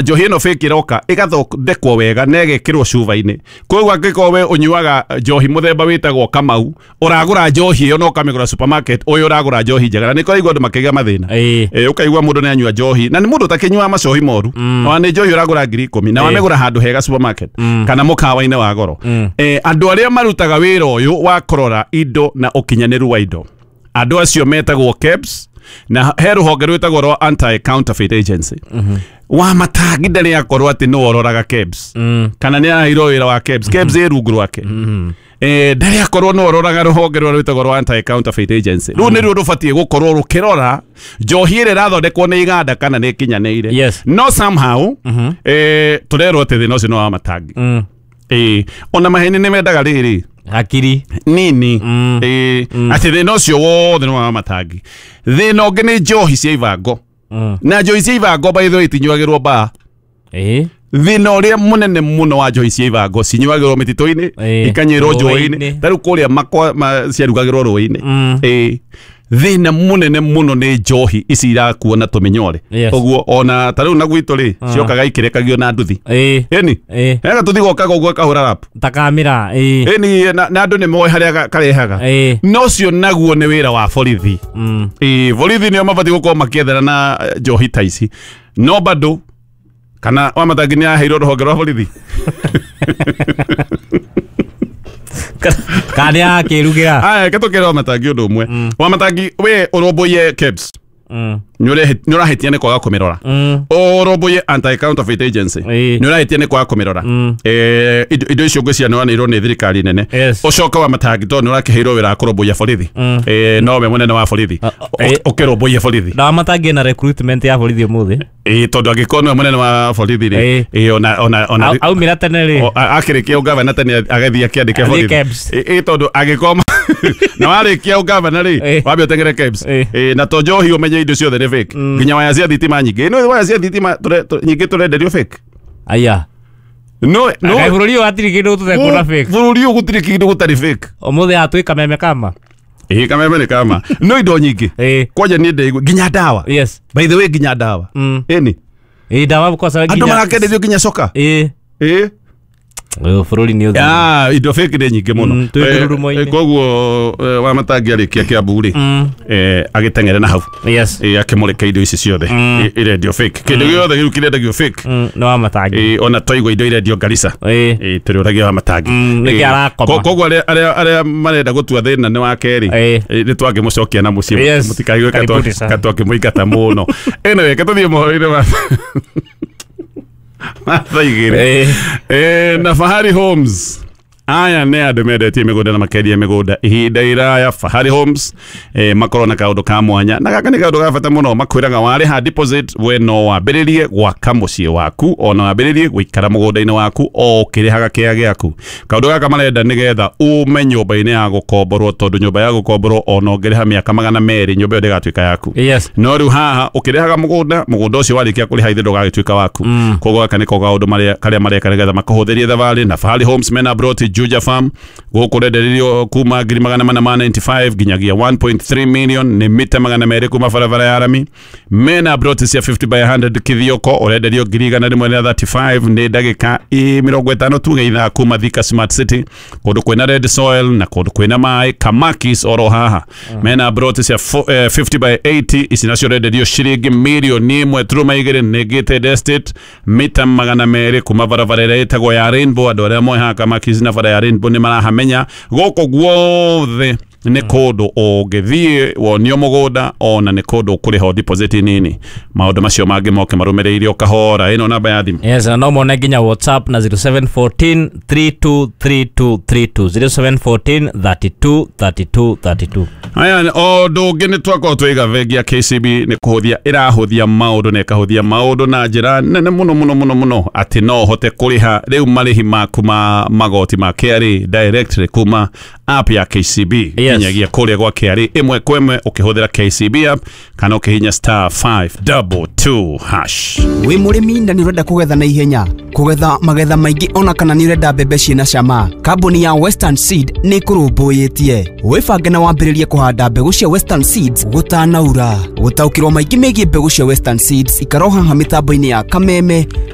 Njohi ĩno fake ĩroka ĩgathondekwo wega na ĩgekĩrwo cuba-inĩ. Koguo angĩkorwo we ũnyuaga njohi mũthemba wĩtagwo Kamau, ũragũra njohi ĩyo na ũkamĩgũra supermarket, ũyũ ũragũra njohi njega. Na nĩ kũraigua andũ makĩgĩa mathĩna. Ũkaigua mũndũ nĩ anyua njohi na nĩ mũndũ ũtakĩnyuaga macohi moru, ona nĩ njohi ũragũra 10,000 na wamĩgũra handũ hega supermarket kana mũkawa-inĩ wa goro. Andũ arĩa marutaga wĩra ũyũ wa kũrora indo na ũkinyanĩru wa indo, andũ acio metagwo KEBS, na he rũhonge rwĩtagwo rwa Anti Counterfeit Agency. Wa matangi ndarĩ akorwo atĩ nĩwe ũroraga KEBS kana nĩ araheirwo wĩra wa KEBS. KEBS ĩ rungu rwake. Ndarĩ akorwo nĩwe ũroraga rũhonge rũrĩa rwĩtagwo rwa Anti Counterfeit Agency. Rũu nĩruo rũbatiĩ gũkorwo rũkĩrora njohi ĩrĩa ĩrathondekwo nĩ iganda kana nĩ ĩkinyanĩire. No somehow tũrerwo atĩ thĩna ũcio nĩ wa matangi. Ona maheni nĩ mendaga rĩrĩ Hakiri nini. Atĩ thĩna ũcio wothe nĩ wa matangi. Thĩna ũngĩ nĩ njohi cia ibango. Na njohi cia ibango by the way itinyuagĩrwo baa. Thĩna ũrĩa mũnene mũno wa njohi cia ibango cinyuagĩrwo mĩtitũ-inĩ, ikanyuĩrwo njũĩ-inĩ. Ta rĩu kũrĩa makwa ciarugagĩrwo rũĩ-inĩ. Thĩna mũnene mũno nĩ njohi ici irakuo na tũmĩnyore. Ũguo ona ta rĩu na gwitũ rĩ, ciokaga ikĩrekagio na nduthi. Ĩni? Hega tũthi gokaga ũguo kahũra rap. Takamĩra. Ĩni, na andũ nĩ moĩ harĩa karehaga. No ũcio naguo nĩ wĩra wa borithi. Borithi nĩo mabatiĩ gũkorwo makĩethera na njohi ta ici. No bado kana wa matangi nĩ aheirwo rũhonge rwa borithi. Kana nĩ akĩrugĩra. Aya, reke tũkĩre wa matangi ũndũ ũmwe. Wa matangi we ũrũmbũiye KEBS. Nĩ ũrahĩtia nĩ kwaga kũmĩrora. Ũrũmbũiye Anti Counterfeit Agency. Nĩ ũrahĩtia nĩ kwaga kũmĩrora. Indo icio ngwĩciria nĩ wanĩirwo nĩ thirikari nene. Ũcoke wa matangi tondũ nĩ ũrakĩheirwo wĩra wa kũrũmbũiya borithi. Nowe mũnene wa borithi. Ũkĩrũmbũiye borithi. Na wa matangi ena recruitment ya borithi ũmũthĩ. Tondũ angĩkorwo nĩwe mũnene wa borithi rĩ, ona aumĩra tene rĩ. Akĩrĩkia ũgavana tene agathiĩ akĩandĩke Athiĩ borithi. KEBS. Tondũ angĩkorwo na warĩkia ũgavana rĩ, wambe ũteng'ere KEBS. Na to njohi ũmenye indo ciothe nĩ fake. Nginya waya cia thitima nyingĩ. Nĩ waya cia thitima nyingĩ tũrenderio fake. Aya. No, no. Kaĩ bũrũri ũyũ hatirĩ kĩndũ tũtekuona fake. Bũrũri ũyũ gũtirĩ kĩndũ gũtarĩ fake. Ũmũthĩ haha twĩ kameme kama. Kameme nĩ kama. No indo nyingĩ. Kwanja niĩ ndĩigua nginya ndawa. By the way nginya ndawa. Ĩni. Ndawa kwa sababu Andũ nginya marakenderio nginya coka. Ũyũ bũrũri nĩ ũthiĩ. Indo fake nĩ nyingĩ mũno. Twĩ ngurumo-inĩ. Koguo wa matangi arĩkia Kiambu rĩ, agĩteng'ere na hau. Akĩmũrĩka indo ici ciothe. Irendio fake. Kĩndũ gĩothe gĩu kĩrendagio fake. Nĩ wa matangi. Ona twaigua indo irendio Garissa. Tũrĩũragia wa matangi. Nĩkĩ arakoma? Koguo arĩa marenda gũtua thĩna nĩ wa kerĩ. Nĩ twangĩmũcokia na mũciĩ. Mũtikaigue Karibuni sana. ka twakĩmũingata mũno. Anyway, reke tũthiĩ mohoro-inĩ ma thaa igĩrĩ. Na Fahari Homes. Aya nĩ andũ mendetie mĩgũnda na makendia mĩgũnda ihinda iraya. Fahari Homes makorwo na kaũndũ ka mwanya, na gaka nĩ kaũndũ ga bata mũno. Makwĩraga warĩha deposit we no wambĩrĩrie gwaka mũciĩ waku, ona wambĩrĩrie gũikara mũgũnda-inĩ waku o ũkĩrĩhaga kĩaya gĩaku. Kaũndũ gaka marenda nĩgetha ume nyũmba-inĩ ya gũkomborwo, tondũ nyũmba ya gũkomborwo ona ũngĩrĩha mĩaka 200 nyũmba ĩyo ndĩgatuĩka yaku. No rĩu haha ũkĩrĩhaga mũgũnda, mũgũnda ũcio warĩkia kũrĩha ithe ndũgagĩtuĩka waku. Koguo gaka nĩko kaũndũ karĩa mareka nĩgetha makũhũthĩrie thabarĩ. Na Fahari Homes mena broti Juja Farm gũkũ rendererio kuma ngiri magana mana ma 95 nginyagia 1.3 million, nĩ mita 200 kuma barabara ya rami. Mena broti cia 50 by 100 Kithioko, ũrenderio ngiri igana rĩmwe rĩa 35, nĩ ndagĩka 50 tuge ithaa kuma Thika Smart City, kũndũ kwĩna red soil na kũndũ kwĩna maĩ. Kamakis oro haha mena broti cia 50 by 80, ici nacio renderio ciringi mirioni ĩmwe turuma igĩrĩ, nĩ gated estate, mita 200 kuma barabara ĩrĩa ĩtagwo ya Rainbow. Andũ arĩa moĩ haha Kamakis na bara ya Rainbow nĩ marahamenya. Gũkũ guothe nĩ kũndũ ũngĩthiĩ wonio mũgũnda, ona nĩ kũndũ ũkũrĩha deposit nini. Maũndũ macio mangĩ moke marũmĩrĩire o kahora. Ĩno namba ya thimũ. Yes, na no mone nginya WhatsApp na 0714 323232, 0714 32 32 32. Aya, ũndũ ũngĩ nĩ twakorwo twaiga bengi ya KCB nĩ kũhũthia ĩrahũthia maũndũ, na ĩkahũthia maũndũ na njĩra nene mũno mũno mũno mũno, atĩ no ũhote kũrĩha rĩu marĩhi maku ma magoti ma KRA directly kuma app ya KCB. Nginyagia kũrĩa gwa KRA ĩmwe kwa ĩmwe ũkĩhũthĩra KCB app kana ũkĩhinya star 522 hash. Wĩ mũrĩmi na nĩ ũrenda kũgetha na ihenya, kũgetha magetha maingĩ, ona kana nĩ ũrenda mbembe ciĩna cama, kambuni ya Western Seed nĩ ĩkũrũmbũyĩtie. Wĩbange na wambĩrĩrie kũhanda mbegũ cia Western Seeds gũtanaura. Gũtaũkĩrwo maingĩ megiĩ mbegũ cia Western Seeds, ikara o haha mĩtambo-inĩ ya Kameme.